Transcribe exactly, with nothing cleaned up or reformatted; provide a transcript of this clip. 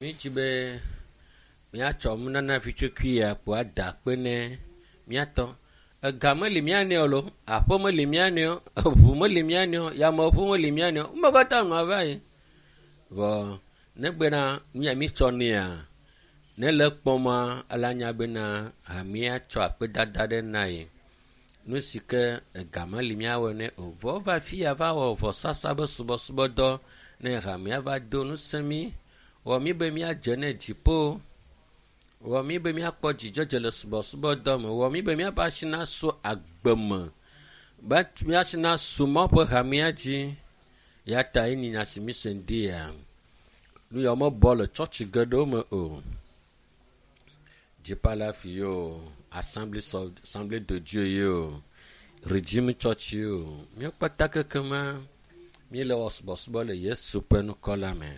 Mídzi be míatsɔ nunana vitsukui ya kpo ada akpe ne míatɔ. Ega meli mía nɛ o loo, aƒe meli mía nɛ o, eŋu meli mía nɛ o, yameŋu meli mía nɛ o. Nume katã nɔa va yi. Vɔ negbena nu ya mítsɔ nɛa, ne le ekpɔma ele anya bena hamea tsɔ akpedada ɖe na ye. Nu si ke ega meli míawɔe nɛ o. Vɔ eva fi ya va wɔ vɔsasa be subɔsubɔdɔ ne hamea va do ŋusẽ mí. Wɔ mí be míadze ne dziƒo. Wɔ mí be míakpɔ dzidzedze le subɔsubɔdɔ me. Wɔ mí be míaƒe asi nasu agbe me. Be míasi nasu Mawu ƒe hamea dzi. Ya ta ye nyi nya si míse ŋdi ya. Nu yawo mebɔ le tsɔtsi geɖewo me o. Deeper Life ye o, Assembly Assembly de Dieu ye o, Redeem Church ye o. Míawo kpata kekema míele wɔ subɔsubɔ le Yesu ƒe ŋkɔ la me.